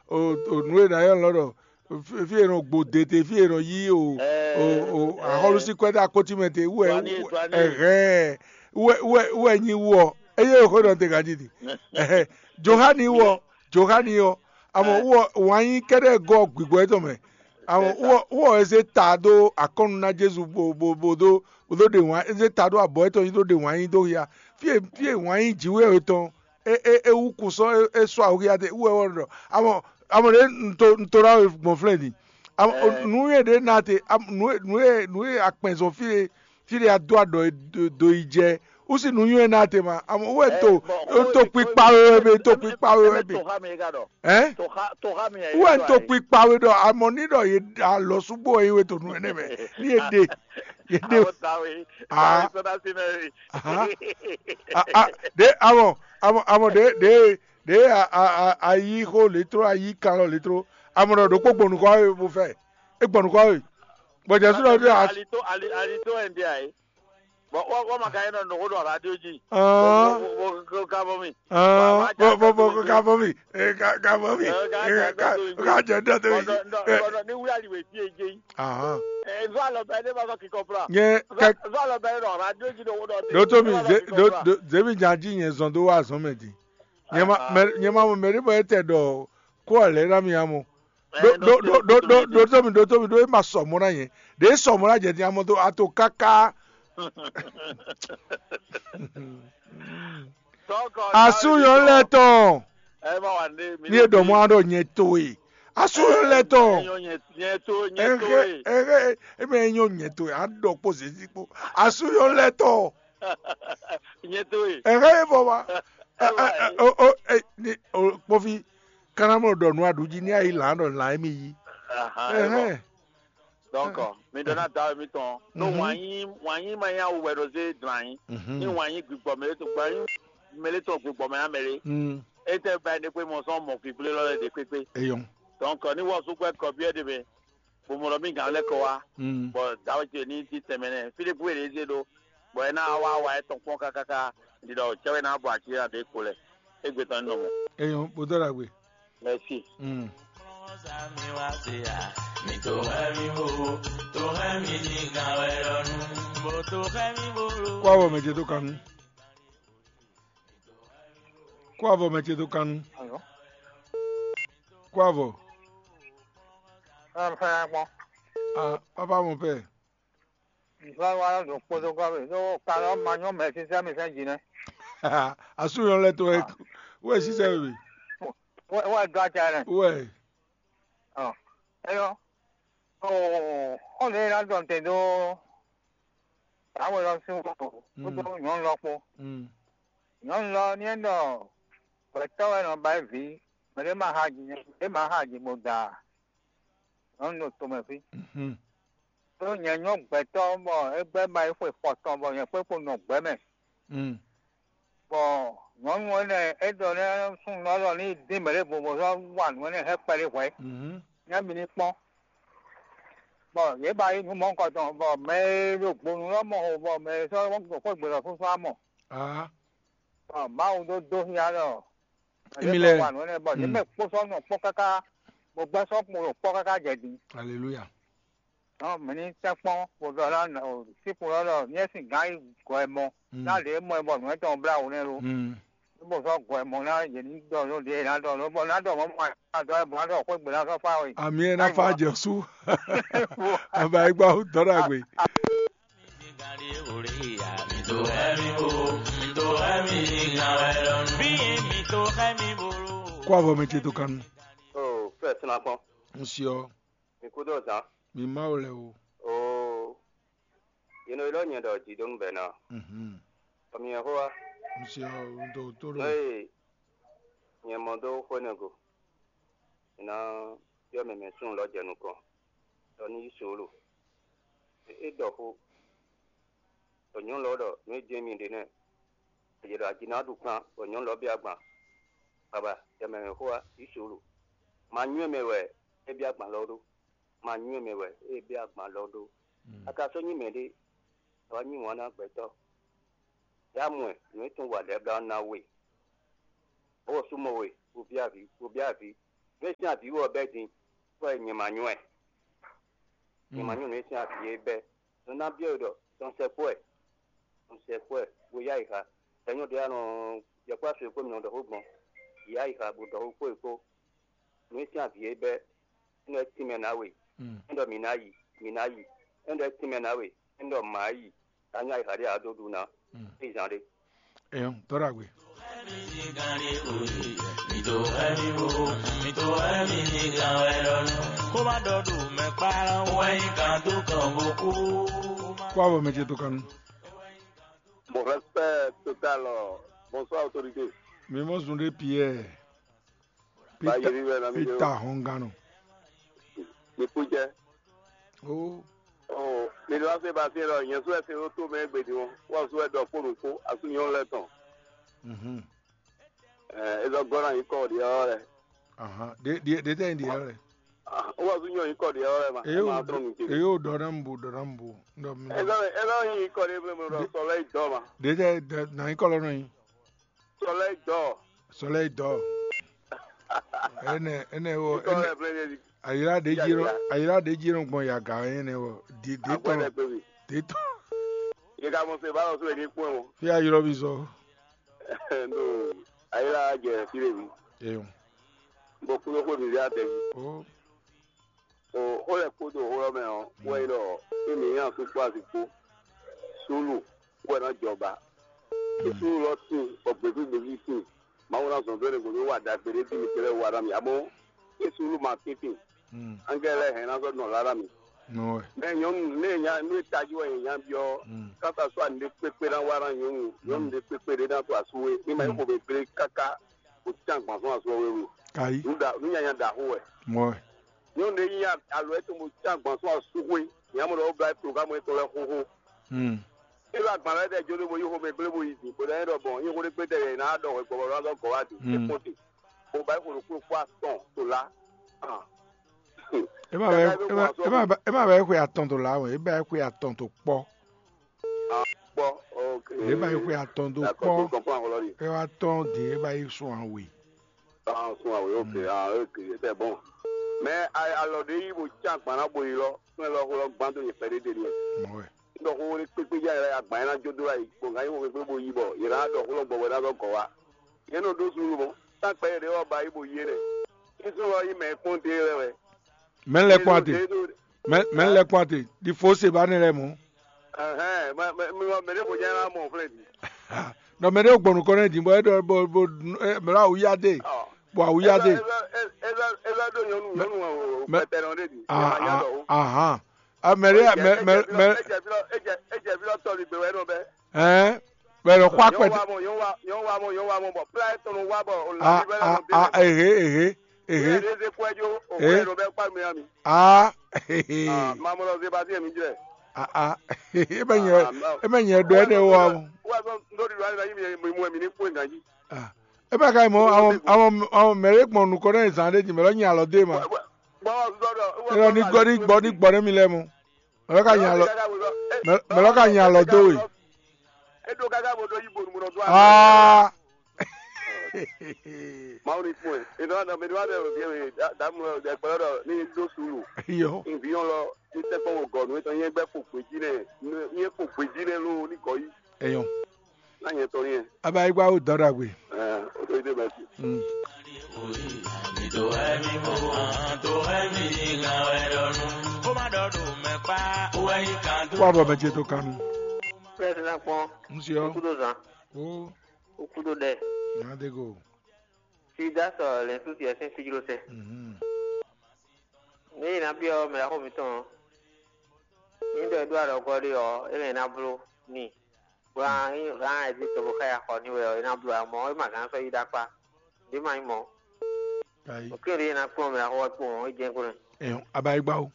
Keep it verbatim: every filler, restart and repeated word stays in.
o o nǔ e nǎ ylɔ́ ɖɔ fí e nɔ gbo dete, fí e nɔ yí o o o axɔ́lú sín kwɛ́ dó akótímɛ te wú wɛ wú wɛ- ɛhɛn wú wɛ wú wɛ wú wɛ nyi wú ɔ eye xó nɔ te ganjí di ɛhɛn Johani wú ɔ Johani ɔ amɔ wú ɔ wǎn yí kɛ́ɖɛ́ gɔ́ gbigbɔ étɔn mɛ amɔ wú ɔ wú ɔ e zé ta dó akɔ́nu ná Jezu bo bo bo dó bo dó ɖe wǎn e zé ta dó abɔ étɔn yí dó ɖe wǎn yí dó hia fí e fí e wǎn yí jǐwé etɔn é é é wú kú sɔ́ é é sɔ́ awuxia te wú wɛ wɔ ɖɔ amɔ amɔ ɖě un to un to ná we gbɔn flɛ́ din amɔ nǔ e ɖě ná te am- nǔ e nǔ e nǔ e akpɛn zɔn fí e fí e a dó aɖɔ e do- do yi jɛ wú sí nǔ nywɛ́ ná te ma amɔ wú wɛ to un to kpikpa we wɛ be to kpikpa we wɛ be Toxa mi ka ɖɔ. Hɛn? Toxa toxa mi yɛ. Wú wɛ un to kpikpa we ɖɔ amɔ ní ɖɔ ye alɔ súgbó wɛ yí we to nǔ énɛ́ mɛ ní ye ɖe ye ɖe Awo tawe. Ah. Awo sɔda si mɛ. Aha. Ah, ah, ɖe amɔ amɔ amɔ ɖe ɖe ɖe a a a a yí xó létró a yí kan lɔ létró amɔ ɖɔ ɖokpó gbɔn nukɔ we bó fɛ é gbɔn nukɔ we bɔ jɛsu ɖɔ ɖe a Ali to ali ali to ɛn di ayi. Bɔn wɔ wɔ ma ka yɛ nɔ nɔgɔ ɖɔ radio ji. Ah. Bɔ bɔ bɔ ka bɔ mi. Ah, bɔ bɔ bɔ ka bɔ mi ee ka ka bɔ mi ee ka ka jɛ dɔ to yi. Bɔn ni wuli ali wɛ fi eje yi. Ahan. Ɛ nzɔ alɔ bɛ ne ma sɔ kikɔ fla. Nyɛ kɛ Nzɔ alɔ bɛ ne nɔ radio ji ɖo wo dɔ. Ɖo to mi ze ɖo ɖo zemi jan ji nyɛ zɔn do wa zɔn mɛ di. Nyɛ ma mɛ nyɛ ma mɔ mɛ ɖe bɔ etɛ ɖɔ ko ɔ lɛ na mi amɔ. Ɖo ɖo ɖo ɖo ɖo ɖo to mi ɖo to mi ɖo e ma sɔ mɔ na nyɛ ɖe sɔ mɔ na jɛ din amɔ to ato kaka. Asú nyɔnu lɛ tɔn. Ní e ɖɔ mɔ aɖɔ nyɛ to e. Asú nyɔnu lɛ tɔn. Ɛhɛ ɛhɛ eme nyɔ nyɛ to e aɖɔ kpo zezi kpo. Asú nyɔnu lɛ tɔn. Ɛhɛ e bɔ wa. O o e ni o kpɔvi kana mɔ ɖɔ nu aɖu jí ní ayi lan ɖɔ lan emi yi. Ɛhɛ. Donc mi ɖɔ ná da mi tɔn. No wǎn yí wǎn yí ma nyí awu wɛ ɖo zé dlan yí. Ní wǎn yí gbigbɔ mɛ ɖé to gbɔn yí mɛ ɖé tɔn gbigbɔ mɛ ná mɛ ɖé. Étɛ́ ba ɖé kpé mɔ sɔn mɔ gbigblé lɔ lɛ ɖé kpékpé. Eyɔn. Donc ní wɔ súgbɛ kɔ byɔ́ ɖé mɛ. Bó mɔ ɖɔ mí gǎn lɛ́ kɔ wá. Bɔ dǎwe ce ní ti tɛnmɛ nɛ. Fí ɖé kú è ɖě zé ɖó. Bɔ é ná wá wa ɛ tɔn kpɔ́n kákáká. Ɖiɖɔ cɛ́wé ná bɔ aci ɖé kpo lɛ. Égbé tɔn ní nɔ mɔ. Eyɔn, bó dɔ́ ɖagbe. Merci. Kó avɔ mɛ ce tó kanu. Kó avɔ mɛ ce tó kanu. Kó avɔ. Ah, papa mon père. Nzɔlwa ɖo kpodokɔ be ɖo kanɔ ma nyɔ mɛ sísɛ mi sɛn dzi nɛ. Asúnyɔ lɛ tó wɛ wɛ sísɛ we. Wɛ wɛ dó atsa nɛ. Wɛ. Ɔ, eyɔ. O xɔlɛ ná dɔn te ɖó. Awe lɔ sí wɔ kódó nyɔnu lɔ kpó. Nyɔnu lɔ ní é ɖɔ gbɛtɔ́ wɛ nɔ ba é vǐ, mɛ ɖé ma xa dzi mɛ ɖé ma xa dzi bó da. Nyɔnu ɖo tomɛ fí. Ɖó nyɛ nyɔ́ gbɛtɔ́ bɔ é gbɛ́ ba yi xwe fɔtɔn bɔ nyɛ kpé kpo nɔ gbɛ̌ mɛ. Bɔ nyɔ̌nu énɛ́ é ɖɔ nɛ́ súnnu ɔ́ ɖɔ ní dín mɛ ɖěvo bó sɔ́ wa nǔ énɛ́ hɛn kpɛɖé hwɛ̌. Nɛ́ mi ní kpɔ́n. Bɔ yě ba yí nǔ mɔ̌hunkɔtɔn bɔ mɛ e ɖo gbonu ɔ́ mɔ xo bɔ mɛ e sɔ́ ɖo xwé gbe lɔ fúnfún á mɔ. Bɔ Mawu ɖó dó xyá ɖɔ Émi lɛ́ɛ. Wa nǔ énɛ́ bɔ yě mɛ kpó sɔ́ nɔ kpɔ́ káká, bó gbɛ́ sɔ́ kpo ɖo kpɔ́ káká jɛ din. Aleluya. Nɔ mǐ ní tɛ́nkpɔ́n bó ɖɔ ná síkpo lɔ ɖɔ nyɛ sín gǎn yi gɔ̌ ɛ mɔ ná ɖě mɔ ɛ bɔ nǔ étɔn blá wǔ nɛ́ lo. Bó sɔ́ gɔ̌ ɛ mɔ ná yě ní ɖɔ nú ɖě ná ɖɔ nú bɔ ná ɖɔ mɔ̌ mɔ ɛ dɔ ɛ bɔ ná ɖɔ xwé gbe ná sɔ́ fá we. Àmì ɛ ná fa jɛ sú. Àbá ẹ gbá dɔ́ ɖagbe. Kó avɔ mɛ ce tó kanu. O fɛ sinakpɔn. N siɔ. Mi kú dó zan. Mi ma wo lɛ o. O. Yino ilɔ nyɛ ɖɔ jidonu bɛ na. Mhm. Ɔmi yɛ xó wa. N siɔ n tó tó N'o ɖo. Ye nyɛ mɔ dó xwé ne go. Ná yɔ mɛ mɛ sún lɔ jɛ nukɔn. Ɖɔ ní yí solo. É ɖɔ xó. Ɖɔ nyɔ̌nu lɔ ɖɔ nǔ e jɛ́n mi ɖe nɛ́. È ná ɖu kpán bɔ nyɔ̌nu lɔ bɛ́ agban. Baba, yɛ mɛ mɛ xó wa yí solo. Ma nywɛ́ mɛ wɛ é bɛ́ agban lɔ ɖó. Ma nywɛ́ mɛ wɛ é bɛ́ agban lɔ ɖó. A ka sɔ́ nyí mɛɖé, a wá nyí wǎn ná gbɛtɔ́. Yá mɔ ɛ, nǔ e tún wa lɛ́ɛ blá ɔ́ ná we. Bó sú mɔ we, bo byɔ́ avǐ, bo byɔ́ avǐ. Nú é sín avǐ wú ɔ́ bɛ́ din, bɔ nyɛ ma nyɔ́ ɛ. Nyɛ ma nyɔ́ nǔ e sín avǐ é bɛ́. Nɔ ná byɔ́ we ɖɔ dɔn sɛkpɔ́ ɛ, dɔn sɛkpɔ́ ɛ, bó yá yi xa. Sɛ nyɔ́ ɖé anɔ yɔkpɔ́ asú e kpó mi nɔ ɖɔ xó gbɔn, yá yi xa bó ɖɔ xó kpó e kpó. Nǔ e sín avǐ é bɛ́, é nɔ tínmɛ ná we. É ɖɔ mǐ ná yi, mǐ ná yi. É ɖɔ tínmɛ ná we, é ɖɔ mǎ yi. Ká nyá yi xa ɖé ǎ dó ɖu ná. É zán ɖé. Ɛyɔn, tɔ́ ɖagbe. Kó má ɖɔ ɖo mɛ kpá wɛ nyí kan tó kàn bó kú. Kó abɔ mɛ ce tó kanu. Mon respect total. Bonsoir autorité. Mi mɔ zun ɖé Pierre. Peter Hɔngano. Mi kú jɛ. Oh. Oh, mi lɔ se ba se lɔ nyɛ su ɛsɛ wo to mɛ gbedi wo. Wa su ɛdɔ kpo nu kpo asu nyɔ lɛ tɔn. Mhm. Eh, ezɔ gɔna yi kɔ di ɔ lɛ. Aha. De de de tɛ di ɔ lɛ. Ah, wa su nyɔ yi kɔ di ɔ lɛ ma. Eyo, ma tɔn nu ke. Eyo dɔ na mbu, dɔ na mbu. Ndɔ mi. Ezɔ ezɔ yi kɔ di mɛ mɛ dɔ sɔlɛ dɔ ma. De tɛ na yi kɔ lɔ nɔ yi. Sɔlɛ dɔ. Sɔlɛ dɔ. Ene ene wo. Ayira ɖe jí nɔ ayira ɖe jí nɔ gbɔn yaga yẹn nɛ wɔ di di tɔn di tɔn. Yeka mɔ se ba lɔ so eni kpɔn o. Fi ayirɔ bi zɔ. No ayira jɛ fi le mi. Eyo. Bɔ kulo ko mi ya tɛ. O. O o lɛ kpo do o lɔ mɛ ɔ wɛ yi lɔ e mi yan su kpo asi kpo. Sulu wɛ na jɔ ba. Sulu lɔ sin bɔ gbɛvi gbɛvi sin. Mawu ná zɔn dó ne gbɔdɔ wa ɖagbe ɖé bí mi kplé wa ná mi amɔ Jesu ló ma tíntín. Angɛ́lɛ hɛn ná zɔ nɔ lá ná mi. Mɛ nyɔnu ne nya nu e tají wɛ nya byɔ kasa sɔ ani ɖe kpékpé ná wa ná nyɔnu nyɔnu ɖe kpékpé ɖé ná to asu we ní ma yi xɔ bɛ gblé káká o tán gbɔn sɔn asu we wu. Kayi. Nu da nu nyanya da xo wɛ. Mɔ. Nyɔnu ɖé nyi alo etɔn bo tán gbɔn sɔn asu we nya mɔ ɖɔ o bla programme etɔn lɛ xoxo. E ɖo agban lɛ́ɛ ɖɛ jó ɖé bo yi xomɛ gblé bo yi din, bó ná nyí ɖɔ gbɔn nyí xó ɖé gbé tɛ yě ná ɖɔ hwɛ gbɔbɔ lɔ azɔ́ gɔ̌ wá din, é kpɔ́n te, bó ba yi xo ɖokpó kpó atɔn to lá. E ma bɛ e ma e ma bɛ xwe atɔn to lá o, e ba xwe atɔn to kpɔ. Kpɔ, ok. E ba xwe atɔn to kpɔ. E wa tɔn de e ba yi sɔn awe. Ah, sɔn awe, ok, ah, ok, c'est bon. Mais alɔ ɖe yi bo can gban na bo yi lɔ, fún ɛ lɔ xó lɔ gbán tó nyɛ pɛɖé ɖe nìyẹn. Mɔ wɛ. Ɖɔ xó ní kpékpé já yɛ agban yẹn ná jó dó ayi, bó ŋa yí xó kpékpé bo yi bɔ yě ná ɖɔ xó lɔ gbɔgbɔ ná zɔ gɔ̌ wá. Yě nɔ ɖó suúlu mɔ, tá kpɛ yě ɖé wɔ ba yí bo yi é nɛ. Sísún lɔ yí mɛ kpɔ́n dé lɛ wɛ. Mɛ lɛ kpɔ́n ate. Mɛ mɛ lɛ kpɔ́n ate. Di fo se ba ne lɛ mɔ. Ɛhɛn, mɛ mɛ mɛ mɛ ɖé ko jɛ ná mɔ flɛ di. Nɔ mɛ ɖé gbɔn nukɔ nɛ di bɔ e ɖɔ bo bo mɛ ɖo awuya de. Bɔ awuya de. Eza do nyɔnu nyɔnu pɛtɛnɔ ɖe di. Ahan. Mɛ ɖé mɛ mɛ mɛ. Ejɛ fi lɔ tɔli gbe wɛ nɔ bɛ. Ɛn bɛ lɔ xɔ akpɛtɛ. Nyɔnu wa mɔ nyɔnu wa mɔ nyɔnu wa mɔ bɔ pla etɔn wa bɔ o la. Ehe ehe ehe. Eze kwɛ jo o kwɛ nɔ bɛ kpa mi ami. Aa. Mamɔ lɔ ze ba se mi jɛ. Aa. E bɛ nyɛ e bɛ nyɛ ɖɔ ɛnɛ wɔ. Wa sɔ ndo di do ale na yi mi mu mi ni kue ganji. E bɛ ka yi mɔ awɔ awɔ awɔ mɛ ɖe gbɔn nukɔ ɖe zan ɖe ji mɛ lɔ nyi alɔ de ma. Bɔ sɔ dɔ. E lɔ ni gbɔ ni gbɔ ni gbɔ ne mi lɛ mɔ. Mɛ lɔ ka nya alɔ mɛ lɔ ka nya alɔ dó we. Eɖo káká bó ɖó yí bonu bó nɔ dó. Aa. Mawu ni kpɔn ɛ. Ìdánwò àdàmú ìdánwò àdàmú ìdánwò àdàmú ìdánwò àdàmú ìdánwò ní dó sùúrù. Iyọ. Ìbíyàn lọ ní tẹ́kọ̀ wò gọ̀ nù ètò yẹn gbẹ́ kò gbèjì nẹ yẹn kò gbèjì nẹ ló ní gọ̀ yìí. Eyɔn. Náà yẹn tọ́ ní yẹn. Abayigba ó dán dàgbé. Ẹ ó tó yí dé bẹ́ẹ̀ sí. Kó má dɔ̀dọ̀ mẹ́pà, ó wá yí kan tó. Kó àbọ̀ mẹ́tí tó kanu. Pírẹ́sì náà pọ́n. Ń ṣe ọ́. Kúndùn sàn. Ó. Ó kúndùn dɛ. Ìyá dégò. Fi dá sɔ lɛ̌nsu tiɛ sín fíjló sɛ. Mhm. Ní yìí ná byɔ́ mɛ axó mitɔn ɔ́, ní ɖɔ é ɖó alɔgɔ́ ɖé ɔ́, é lɛ́ ná bló n'i. Bó ná nyí hǎn ɛ́ jí cóbó ká yi axɔ n'i wɛ ɔ́, é ná bló amɔ̌ é ma gǎn sɔ́ yi ɖó akpá. Ɖě ma nyí mɔ̌. Kayi. Òkín ɖě é ná kplɔ́n mɛ axó ɔ́ kpowun ɔ́, é jɛ́n kplɔ́n ɛ. Ɛyɔn, abayigba o.